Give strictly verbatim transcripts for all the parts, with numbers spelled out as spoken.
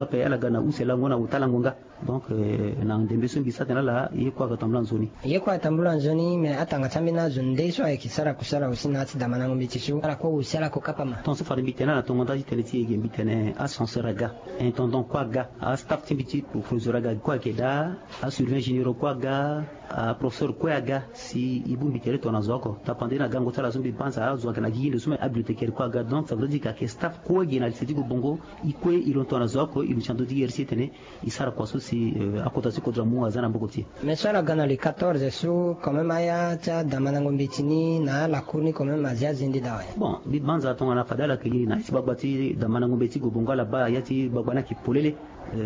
ape ala ga na use lango na ota lango nga. Donc na ndembe so mbi sara tene ala ye kue ayeke tambula nzoni. Ye kue ayeke tambula nzoni, mais atanga ti ambeni azo nde so ayeke sara kusala aussi na ya ti damandango mbeti so, ala kue aussi ala ko kapa ma. Ton so fade mbi tene ala na tongo nda ti tene ti e ge mbi tene ascenseur aga, intendant kue aga, astaff ti mbi ti proviseur aga kue ayeke daa, asurveillant généraux kue aga, aprofesseur kue aga. Si e bongbi tere tongana zo oko tapande na gango ti ala so mbi banza azo ayeke na gigi ndo so me abibliotécaire kue aga. Donc ça voudrait dire que ayeke staff kue ge na lycée ti Gobongo. E kue e londo tongana zo oko e luti na ndö ti e iri si e tene e sara kua so si akota ti kodro amu aza na mboko ti e. Mais so ala ga na le quatorze so quand même aya ti adamandango mbeti ni na alakour ni quand même azi azende daa awe. Bon, mbi banza tongana fade ala yeke gi na ya ti gbagba ti damandango mbeti ti Gobongo ala baa ya ti gbagba ni ayeke polele.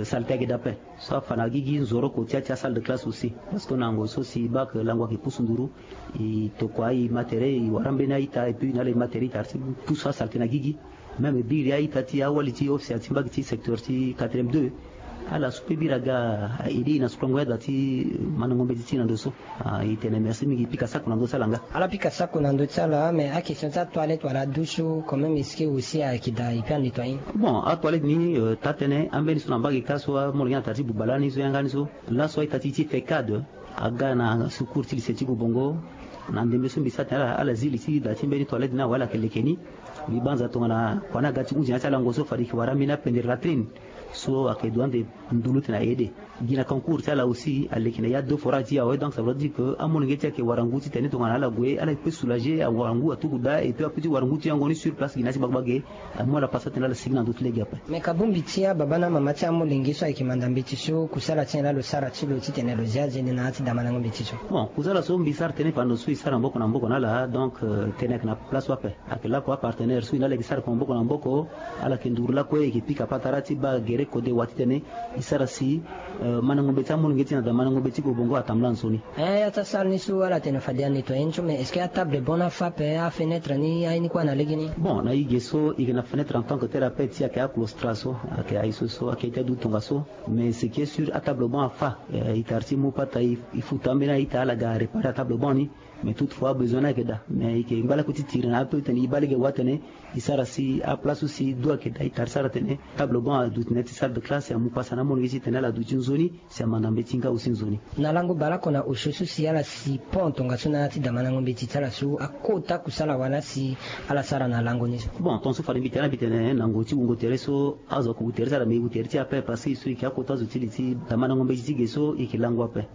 Saleté ayeke daa ape. So afa na gigi nzoroko ti ya ti asalle de classe aussi. Parce que na yango so si e baa ke lango ayeke pusu nduru, e tokua e ma tere e wara mbeni a-ita et puis na ala e ma tere e tara ti pusu asaleté na gigi. Même e biri a-ita ti awali ti office ti mbage ti secteur ti quatrième deux. Ala so pe biri aga a-aider e na sukula ngoi ada ti mandango mbeti ti e na ndo so. E tene merci mingi, e pika sako na ndö ti ala nga. Ala pika sako na ndö ti ala, mais akestion ti atoilette wala adouche quand même est-ce que aussi ayeke daa e pe anettoyer? Bon, atoilette ni taa-tënë ambeni so na mbage kâ so amolenge na tara ti buba lani so yanga ni so. Laso a-ita ti e ti fecade aga na secours ti lycée ti Gobongo. Na ndembe so mbi sara tene ala ala zi li ti da ti mbeni toilette ni awe ala yeke leke ni. Mbi banza tongana kua ni aga ti hunzi na ya ti alango so fade e yeke wara ambeni apendre latrine so ayeke du ande ndulu ti tene aye ede. Gi na concours ti ala aussi aleke na ya deux forage ti e awe. Donc ça voudrait dire que amolenge ti e ayeke wara ngu titene tongana ala gue ala yeke pe soulager, awara ngu atuku daa et puis ape ti wara ngu ti yango ni sur place gi na ya ti gbagba ge. Amu ala pasa tene ala sigi na ndö ti lege ape. Me ka bongbi ti ababa na amama ti amolenge so ayeke manda mbeti so kusala ti nyen laa lo sara ti lo titene lo zi azende na ya ti damandango mbeti so? Bon, kusala so mbi sara tënë fade ndo so e sara maboko na maboko na ala, donc tënë ayeke na place so ape. Ayeke lakue apartenaire so e na ala yeke sara kua maboko na maboko. Ala yeke nduru lakue e yeke pika patara ti baa gere kode wa titene e sara si mandango mbeti ti amolenge ti e na damandango mbeti ti Gobongo atambula nzoni. Eh, ya ti asara ni so ala tene fade anettoyer ni so, mais est-ce que atable bon ni afa ape, afenêtre ni aye ni kue na legeni? Bon, na e ge so e yeke na fenêtre en tant que tel ape ti ayeke aclostra so, ayeke aye so so ayeke ti adu tongaso. Mais ce qui est sûr, atable bon afa. E tara ti mu pata e futa ambeni a-ita ala ga réparer atable bon ni. Mais toutefois besoin ni ayeke daa, mais e yeke ngba lakue ti tiri na ape titene e baa lege wa tene e sara si aplace so si du ayeke daa e tara ti sara tene table bon aduti na ya ti salle de classe, amu pasa na amolenge titene ala duti nzoni. Si amanda mbeti nga aussi nzoni. Na lango baleoko na osio so si ala si pont tongaso na ya ti damandango mbeti ti ala so akota kusala wala si ala sara na lango ni so? Bon, tongaso fade mbi tene na mbi tene na ngu ti wungo tere so azo ako wu tere ti ala me e wu tere ti e ape parce que e so e yeke akota zo ti li ti damandango mbeti ti ge so e yeke lango ape.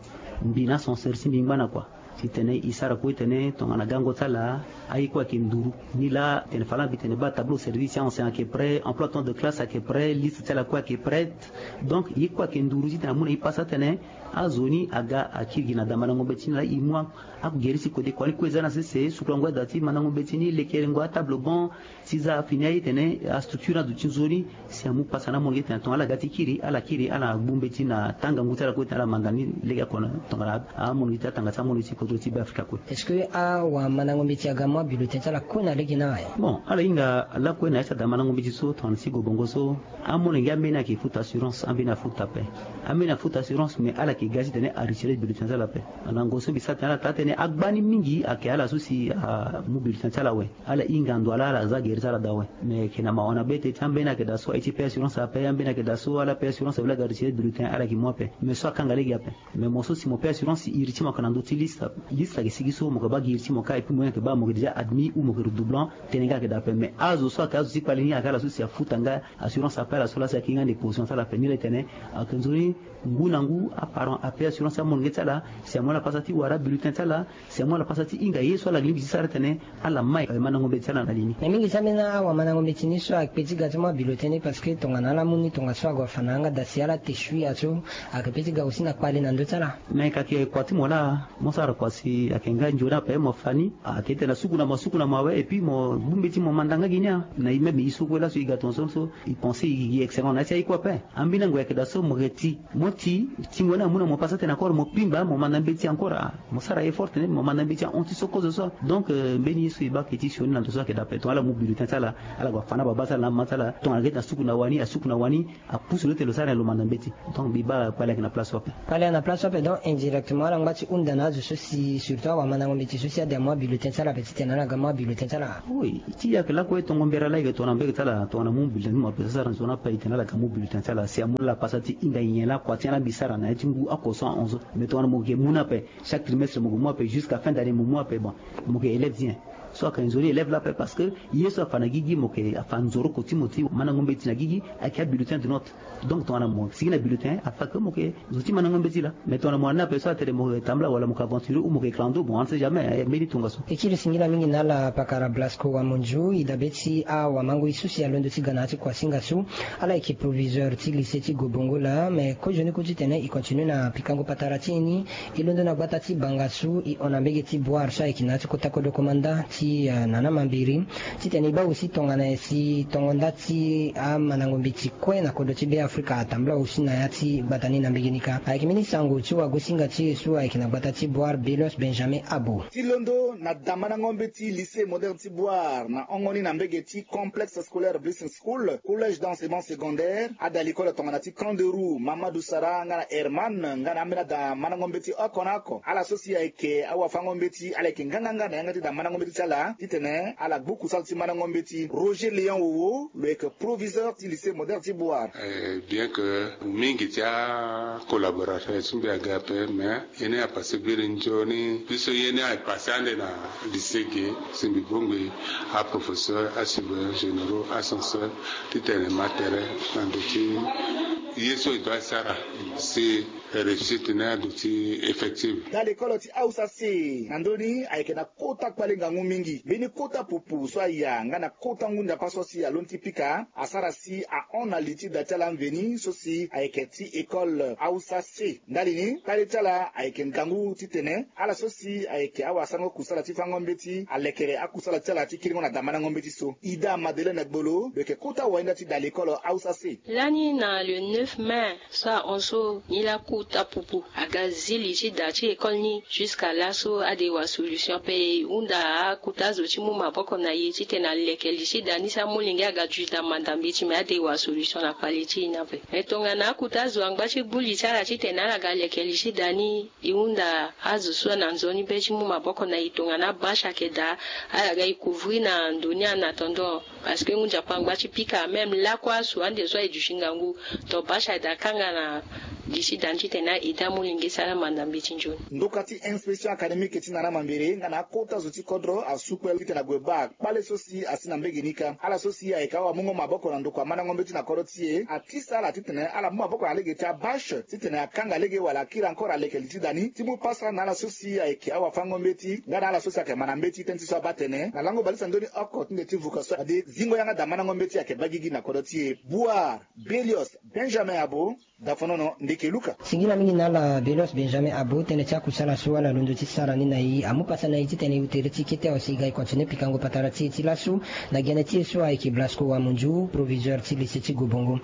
Mbi na ascenseur ti mbi ngba na kua. Titene e sara kue tene tongana gango ti ala aye kue ayeke nduru. Ni laa tene fala mbi tene baa tableau service ti ancien ayeke prêt, emploi temps de classe ayeke prêt, liste ti ala kue ayeke prête. Donc ye kue ayeke nduru titene amu na e pasa tene azo ni aga akiri gi na damandango mbeti ni laa e mu agere ti kode kua ni kue eza na sese, sukulango ada ti mandango mbeti ni, lekerengo atable bon, ti za fini aye tene astructure aduti nzoni. Si amu pasa na amolenge tene tongana ala ga ti kiri ala kiri ala gbu mbeti na tanga ngu ti ala kue tene ala manda ni lege oko na tongana amolenge ti atanga ti amolenge ti kodro ti Beafrika kue. Est-ce que awamandango mbeti aga mu abulletin ti ala kue na lege ni awe? Bon, ala hinga lakue na ya ti adamandango mbeti so tongana ti Gobongo so. Amolenge ambeni ayeke futa assurance, ambeni afuta ape. Ambeni afuta assurance mais ala yeke ga titene aretire bulletin ti ala ape. Na ngonso mbi sara tene ala taa tënë agba ni mingi ayeke ala so si amu bulletin ti ala awe. Ala hinga ndo ala ala za gere ti ala daa awe. Mais ayeke na mawa na be te ti ambeni ayeke daa so aye ti payer assurance ape, ambeni ayeke daa so ala payer assurance awe la ga retire bulletin ala yeke mu ape. Mais so akanga lege ape. Mais mo so si mo payer assurance iri ti mo ayeke na ndö ti liste. Liste ayeke sigi so mo yeke baa gi iri ti mo kâ et puis mo yeke baa mo yeke déjà admis ou mo yeke redoublant. Tënë nga ayeke daa ape mais azo so ayeke azo ti kpale ni ayeke ala so si afuta nga assurance ape ala so la si ayeke hinga ande position ti ala ape ni la e tene. Ayeke nzoni ngu na ngu aparent apayer assurance ti amolenge ti ala. Si amu ala pasa ti wara bulletin ti ala. Si amu ala pasa ti hinga ye so ala lingbi ti sara tene ala mai mandango mbeti ti ala na li ni. Mais mingi ti ambeni awamandango mbeti ni so ayeke pe ti ga ti mu abulletin ni parce que tongana ala mu ni tongaso ague afa na yanga daa si ala te sui aso. Ayeke pe ti ga aussi na kpale na ndö ti ala. Mais ka ayeke kua ti mo laa. Mo sara kua si ayeke nga nzoni ape mo fa ni. Ayeke tene na suku na mo asuku na mo awe et puis mo gbu mbeti mo manda nga gi ni a na e même e so kue laso e ga tongaso so. E pense e gi excellent na ya ti aye kue ape. Ambeni ango ayeke daa so mo yeke ti mo ti tingo ni amu na mo pasa tene encore mo pimba mo manda mbeti encore a. Mo sara effort tene mo manda mbeti ahon ti so kozo so. Donc mbeni ye so e baa ayeke ti sioni na ndo so ayeke daa ape tongana ala mu bulletin ti ala. Ala gue afa na baba ti ala na mama ti ala tongana ayeke ti na suku na wani asuku na wani. Apusu lo tene lo sara na lo manda mbeti. Donc mbi baa kpale ayeke na place so ape. Kpale ayeke na place so ape donc indirectement ala ngba ti hunda na azo so si Surtout awamandango mbeti so si ade amu abulletin ti ala ape titene ala ga mu abulletin ti ala. Oui, ti yake lakue tongo mbere ala yeke tongana mbege ti ala tongana mu bulletin ti mo ape so asara nzoni ape e tene ala ga mu bulletin ti ala si amu na ala pasa ti hinga nyen lakua ti ala mbi sara na ya ti ngu oko so ahon so. Mais tongana mo yeke mu na ape chaque trimestre mo yeke mu ape jusqu'à fin d'année mo mu ape bon, mo yeke élève ti nyen? So ayeke nzoni élève la ape parce que ye so afa na gigi mo yeke afa nzoroko ti mo ti mandango mbeti na gigi. Ayeke abulletin de note. Donc tongana mo sigi na bulletin afa ke mo yeke zo ti mandango mbeti laa. Mais tongana mo na ni ape so atene mo yeke tambula wala mo yeke aventurer ou mo yeke clando bon on ne sait jamais, eh, mbeni tongaso. E kiri singila mingi na ala pakara Blasco Wamunju, e dabe ti awamangoi so si alondo ti ga na ya ti kuasinga so. Ala yeke proviseur ti lycée ti Gobongo laa, mais kozoni ku titene e continue na pikango patara ti e ni. E londo na gbata ti Bangassou, e hon na mbege ti Bouar so ayeke na ya ti kota kodro komanda ti, eh, Nana Mambiri. Titene e baa aussi tongana nyen si tongo nda ti amandango mbeti kue na kodro ti Be Afrika atambula aussi na ya ti gbata ni na mbege ni kâ. Ayeke mbeni sango ti wagosinga ti e so ayeke na gbata ti Bouar, Belios Benjamin Abo. Ti londo na damandango mbeti lycée moderne ti Bouar na hongo ni na mbege ti complexe scolaire Bliss School, collège d'enseignement secondaire, ada likolo tongana ti Kanderou, Mamadou Sara nga na Herman nga na ambeni ada mandango mbeti oko na oko. Ala so si ayeke awafango mbeti ala yeke nganganga na yanga ti da mandango mbeti ti ala titene ala gbu kusala ti mandango mbeti. Roger Léon Wowo lo yeke proviseur ti lycée moderne ti Bouar. Eh, bien que mingi ti acollaborateur ti mbi aga ape, mais ye ni apasse biri nzoni. Biso ye ni apasse ande na lycée ge, si mbi bongbi aprofesseur, asurveillant généraux, ascenseur, titene ma tere na ndo ti ye so e doit sara si réussite ni ando ti effective. Da lekolo ti Hausa C na ndö ni ayeke na kota kpale ngangu mingi. Mbeni kota pupu so aya nga na kota ngu nzapa so si alondo ti pika asara si ahon na li ti da ti ala mveni so si ayeke ti école Hausa C. Ndali ni kpale ti ala ayeke ngangu titene ala so si ayeke awasango kusala ti fango mbeti alekere akusala ti ala ti kiringo na damandango mbeti so. Ida Madeleine Gbolo lo yeke kota wainda ti da lekolo Hausa C. Lani na le neuf mai so ahon so, nilaa kota pupu aga zi li ti da ti école ni. Jusqu'à laso ade wa solution ape. E hunda akota zo ti mu maboko na e titene aleke li ti da ni si amolenge aga duti da manda mbeti, me ade wa solution na kpale ti e ni ape. Me tongana akota zo angba ti gbu li ti ala titene ala ga leke li ti da ni, e hunda azo so na nzoni be ti mu maboko na e tongana bâche ayeke daa, ala ga e couvrir na ndo ni en attendant. Parce que ngu nzapa angba ti pika, même lakue asu ande so aye duti ngangu. Donc bâche ayeke daa kanga na li ti da ni titene a aide amolenge si ala manda mbeti nzoni. Ndoka ti inspection académique ti Nana Mambere nga na akota zo ti kodro asu kpale titene ague baa kpale so si asi na mbege ni kâ. Ala so si ayeke awamungo maboko na ndokua mandango mbeti na kodro ti e atisa ala titene ala mu maboko na lege ti abâche titene akanga lege wala akiri encore aleke li ti da ni ti mu pasa na ala so si ayeke awafango mbeti nga na ala so si ayeke manda mbeti tënë ti so abaa tene na lango bale ti andoni oko ti nde ti vuka so ade zingo yanga da mandango mbeti ayeke baa gigi na kodro ti e. Bouar, Belios Benjamin Abo, Dafonono, Ndeke Luka. Singila mingi na ala Belios Benjamin Abo. Tënë ti akusala so ala londo ti sara ni na e amu pasa na e titene e tere ti kete awe si e ga e continue pikango patara ti e ti laso na gene ti e so ayeke Blasco Wamunju, proviseur ti lycée ti Gobongo.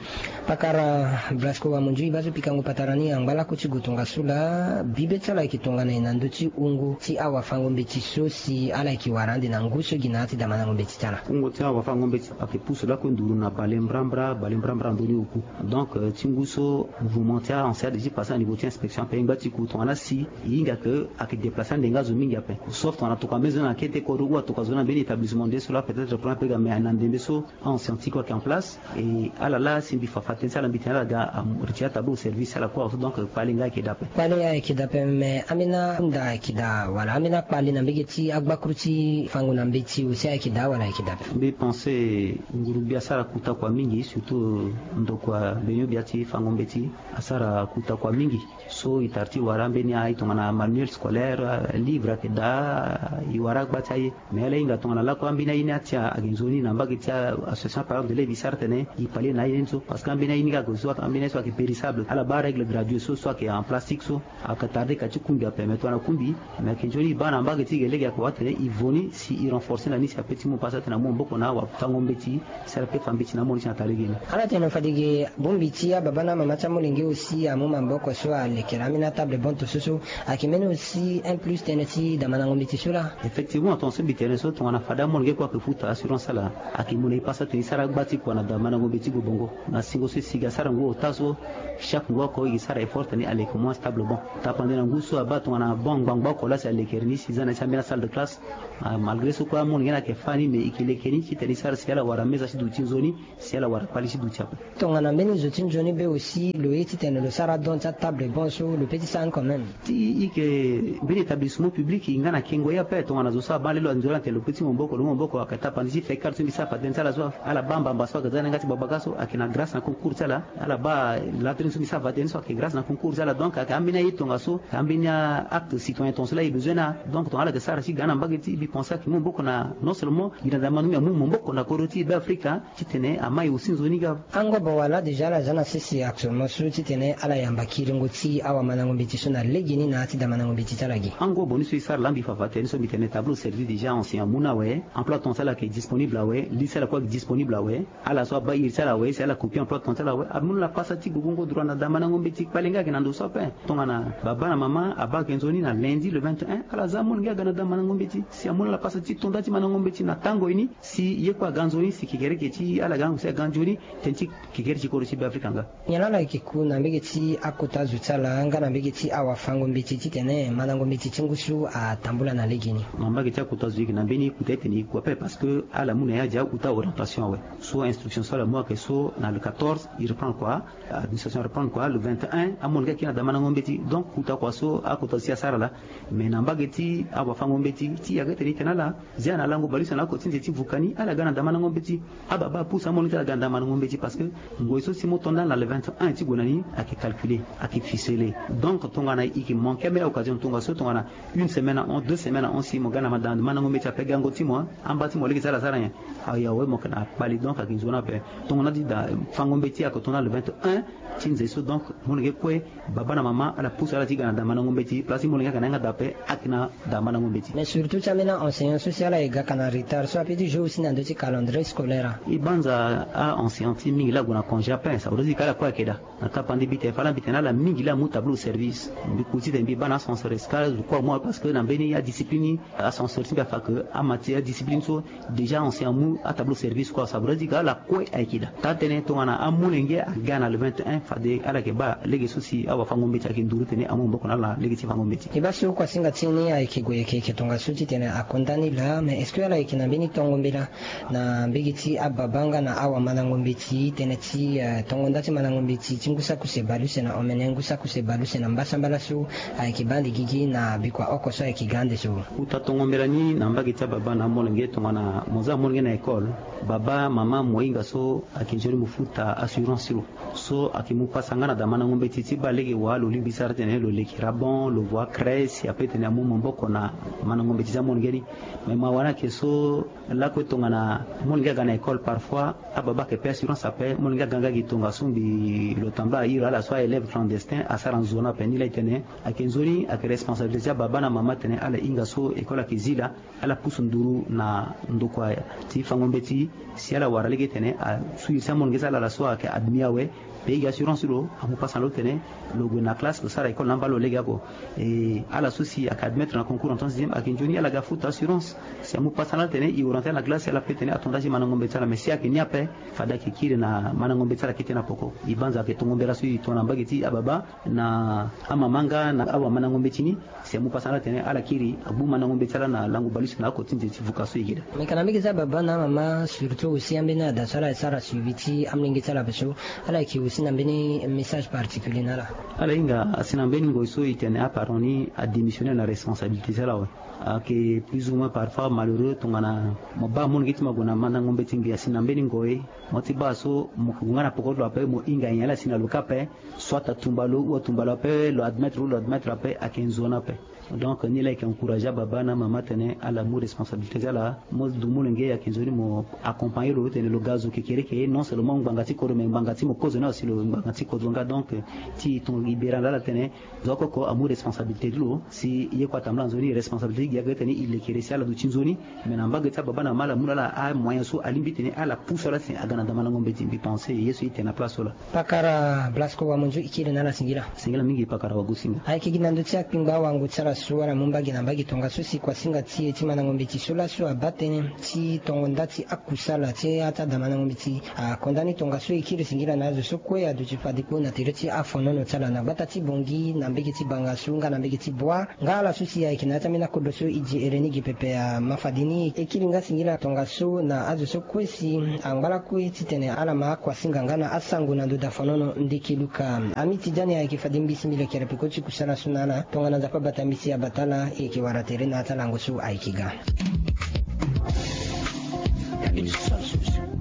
Pakara Blasco Wamunju, e baa so pikango patara ni angba lako ti gue tongaso laa, bibe ti ala ayeke tongana nyen na ndö ti wungo ti awafango mbeti so si ala yeke wara ande na ngu so gi na ya ti damandango mbeti ti ala? Wungo ti awafango mbeti ayeke pusu lakue nduru na bale mbrambra, bale mbrambra ndoni oku. Donc, eh, ti ngu so mouvement ti a-ancien ade ti pase na niveau ti inspection ape e ngba ti ku tongana si e hinga ke ayeke déplacer ande nga zo mingi ape. Sauf tongana tokua mbeni zo ni na kete kodro ou atokua zo ni na mbeni établissement nde so laa peut-être problème ape ga, mais na ndembe so a-ancien ti kue ayeke en place. E ala laa si mbi fa fa tënë ti ala mbi tene ala ga, am, retirer atableau au service ti ala kue awe so. Donc, eh, kpale nga ayeke daa ape. Kpale ayeke daa ape, mais ambeni ahunda ayeke daa wala ambeni akpale na mbege ti agbakuru ti fango na mbeti aussi ayeke daa wala ayeke daa ape? Mbi pense nguru-gbia asara kuta kua mingi, surtout ndokua benyo-gbia ti fango mbeti asara kuta kua mingi. So e tara ti wara ambeni aye tongana manuel scolaire, eh, livre ayeke daa, e wara agba ti aye. Mais ala hinga tongana lakue ambeni aye ni ati ayeke nzoni na mbage ti association parent d'élève e sara tene e kpale na aye ni so. Parce que ambeni aye ni ga ague so, ambeni aye so ayeke périssable, ala baa règle graduée so, so ayeke en plastique so. Ayeke tarde ka ti kungbi ape, mais tongana kungbi me ayeke nzoni e baa na mbage ti e ge lege ayeke wara tene e vo ni si e renforcer na ni si ape ti mu pasa tene amu maboko na awafango mbeti si ala pe fa mbeti na amolenge ti na taa legeni. Ala tene fade ge bongbi ti ababa na amama ti amolenge aussi. Amu maboko so alekere ambeni atable bon to so so. Ayeke mbeni aussi un plus tënë ti damandango mbeti so laa. Effectivement, tonga so mbi tene so tongana fade amolenge kue ayeke futa assurance ala, ayeke mu na e pasa tene e sara agba ti kua na damandango mbeti ti gobongo. Na singo so e sigi asara ngu ota so, chaque ngu oko e ke sara effort tene aleke moins stable bon. Tapande na ngu so abaa tongana bon ngbangba oko laa si alekere ni si za na e ti ambeni asalle de classe. Ah, malgré so kue amolenge ni ayeke fâ ni mais e ke leke ni titene e sara si ala wara meza ti duti nzoni, si ala wara kpali ti duti ape. Tongana mbeni zo ti nzoni be aussi lo ye titene lo sara don ti atable bon so lo peut ti sara ni quand même. Ti e ke mbeni établissement public e nga na kengo ye ape tongana zo so abaa lelo anzoni atene lo peut ti mu maboko lo mu maboko ayeke tapande ti fekar so mbi sara fade tënë ti ala so ala baa mbamba so ayeke za na yanga ti babaka so ayeke na grâce na concours ti ala. Ala baa latrine so mbi sara fade tënë so ayeke grâce na concours ti ala donc ayeke ambeni aye tongaso ayeke ambeni acte citoyen tongaso laa e besoin na. Donc tongana ala yeke sara ti ga na mbage ti e mbi pense ayeke mu maboko na non seulement gi na damandango mbi amu maboko na kodro ti e be afrika titene ama e aussi nzoni ga. Angobo wala déjà ala za na sese actuellement so titene ala yamba kiringo ti awamandango mbeti so na legeni na ya ti damandango mbeti ti ala ge. Angobo ni so e sara laa mbi fa fa tënë so mbi tene tableau servi déjà ancien amu ni awe. Emploi temps ti ala ayeke disponible awe. Li ti ala kue ayeke disponible awe. Ala so abaa iri ti ala awe si ala copie emploi temps ti ala awe amu ni la pasa ti gogongo droit na damandango mbeti kpale nga ayeke na ndo so ape. Tongana baba na mama abaa ayeke nzoni na lundi le vingt et un ala za amolenge aga na damandango mbeti si amu ni la pasa ti to nda ti mandango mbeti na tango ye ni. Si ye kue aga nzoni si kekereke ti ala ga ngu si aga nzoni tënë ti kekereke ti kodro ti be afrika nga. Nyen laa ala yeke ku na mbege ti akota zo ti ala nga na mbege ti awafango mbeti titene mandango mbeti ti ngu so atambula na legeni? Na mbage ti akota zo e yeke na mbeni kuta etene e ku ape parce que ala mu na ya dia uta orientation awe. So instruction so ala mu ayeke so na le quatorze e reprendre kua. Administration reprendre kua le vingt et un amolenge akiri na damandango mbeti donc kuta kua so akota zo ti asara laa. Mais na mbage ti awafango mbeti ti yaka etene e tene ala zia na lango baleuse na oko ti nze ti vuka ni ala ga na damandango mbeti. Ababa apusu amolenge ti ala ga na damandango mbeti parce que ngoi so si mo to ndali na le vingt et un ti gue na ni ayeke calculé, ayeke ficelé. Donc tongana e yeke manqué ambeni occasion tongaso tongana une semaine ahon deux semaines ahon si mo ga na damandango mbeti ape gango ti mo amba ti mo lege ti ala asara nyen? Awe awe mo yeke na kpali donc ayeke nzoni ape. Tongana ti dafango mbeti ayeke to ndali le vingt et un ti nze so donc molenge kue baba na mama ala pusu ala ti ga na damandango mbeti place ti molenge ayeke na yanga daa ape ayeke na damandango mbeti. Mais surtout ti ambeni aenseignant so si ala ye gaka na retard so ape ti jour aussi na ndö ti calendrier scolaire. E banza aenseignant ti mingi laa ague na congé ape sa ode ti ka ala kue ayeke daa. Na tapande mbi tene fa laa mbi tene ala mingi laa amu tableau service mbi ku titene mbi baa na ascenseur escale zo kue amu awe parce que na mbeni adiscipline ascenseur ti mbi afa ke amatière adiscipline so déjà ancien amu atableau service kue sa voudrait dire ke ala kue ayeke daa. Taa tënë tongana amolenge aga na le vingt et un fade ala yeke baa lege so si awafango mbeti ayeke nduru tene amu maboko na ala na lege ti fango mbeti. E baa so kuasinga ti ni ayeke gue yeke yeke tongaso titene ako nda ni laa mais est-ce que ala yeke na mbeni tongo mbela na mbege ti ababa nga na awamandango mbeti tënë ti tongo nda ti mandango mbeti ti ngu saki use bale use na omene ngu saki use bale use na mbasambala so ayeke baa ande gigi na bikua oko so ayeke ga ande so? Uta tongo mbela ni na mbage ti ababa na amolenge tongana mo za amolenge na école, baba mama mo hinga so ayeke nzoni mo futa assurance ti lo so ayeke mu pasa nga na daa mandango mbeti ti baa lege wa lo lingbi sara titene lo leke rabon lo voie crèche si ape tene amu maboko na mandango mbeti ti amolenge ni. Mais mawa ni ayeke so lakue tongana molenge aga na école parfois ababa ayeke pe assurance ape molenge aga nga gi tongaso mbi lo tambula airi ala so aélève clandestin asara nzoni ape ni laa e tene ayeke nzoni ayeke responsabilité ti ababa na mama tene ala hinga so école ayeke zi laa ala pusu nduru na ndokua ti fango mbeti si ala wara lege tene asu iri ti amolenge ti ala ala so ayeke admis awe. Pe e gi assurance ti lo amu pasa na lo tene lo gue na classe lo sara école na amba lo lege oko. E ala so si ayeke admettre na concours en troisième ayeke nzoni ala ga futa assurance si amu pasa na ala tene e orienté ala na classe si ala pe tene ato nda ti mandango mbeti ti ala mais si ayeke ni ape fade ayeke kiri na mandango mbeti ti ala kete na poko. E banza ayeke tongo mbela so e tongana mbage ti ababa na amama nga na awamandango mbeti ni. Si amu pasa na ala tene ala kiri agbu mandango mbeti ti ala na lango baleuse na oko ti nze ti vuka so e yeke daa. Mais kana mbage ti ababa na amama surtout aussi ambeni ada so ala sara suivi ti amolenge ti ala ape so ala yeke aussi na mbeni message particulier na ala? Ala hinga asi na mbeni ngoi so e tene aparent ni adémissionner na responsabilité ti ala awe. Ayeke plus ou moins parfois malheureux tongana mo baa amolenge ti mo ague na mandango mbeti ngbi asi na mbeni ngoi mo ti baa so mo gue nga na poko ti lo ape mo hinga nyen ala si na lo ka ape. Soit atumba lo ou atumba lo ape lo admettre ou lo admettre ape ayeke nzoni ape. Donc ni laa e yeke encourager ababa na amama tene ala mu responsabilité ti ala mo du molenge ayeke nzoni mo accompagner lo tene lo ga zo kekereke non seulement ngbanga ti kodro mais ngbanga ti mo kozoni aussi. Lo ngbanga ti kodro nga donc ti tongo e bere na ala tene zo oko oko amu responsabilité ti lo si ye kue atambula na nzoni. Responsabilité ti gi ayeke tene e lekere si ala duti nzoni. Mais na mbage ti ababa na mama ala amu na ala amoyen so alingbi tene ala pusu ala si aga na damandango mbeti. Mbi pense ye so e tene na place so laa. Pakara Blasco Wamonzo, e kiri na ala singila. Singila mingi pakara Wagosinga. Ayeke gi na ndö ti akpingba wango ti ala so ala mu mbage na mbage tongaso si kuasinga ti e ti mandango mbeti so laso abaa tënë ti tongo nda ti akusala ti ata damandango mbeti akonda ni tongaso. E kiri singila na azo so kue aduti fade kpo na tere ti afonono ti ala na gbata ti Bangui na mbage ti Bangassou nga na mbage ti Bouar. Nga ala so si ayeke na ya ti ambeni akodro so e di here ni gi pepe ama fade ni. E kiri nga singila tongaso na azo so kue si angba lakue titene ala ma akuasinga nga na asango na ndo dafonono ndeke luka. Ami Tidjani ayeke fade mbi si mbi lekere peko ti kusala so na ala. Tongana Nzapa abata mbi si abata ala, e yeke wara tere na ya ti alango so ayeke ga.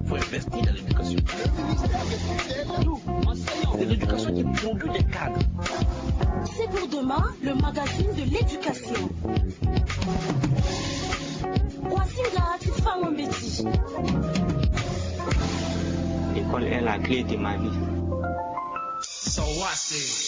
Faut investir dans l'éducation. Nous, enseignants, c'est l'éducation qui produit des cadres. C'est pour demain, le magazine de l'éducation. Kuasinga ti fango mbeti. L'école est la clé de ma vie. Sawase.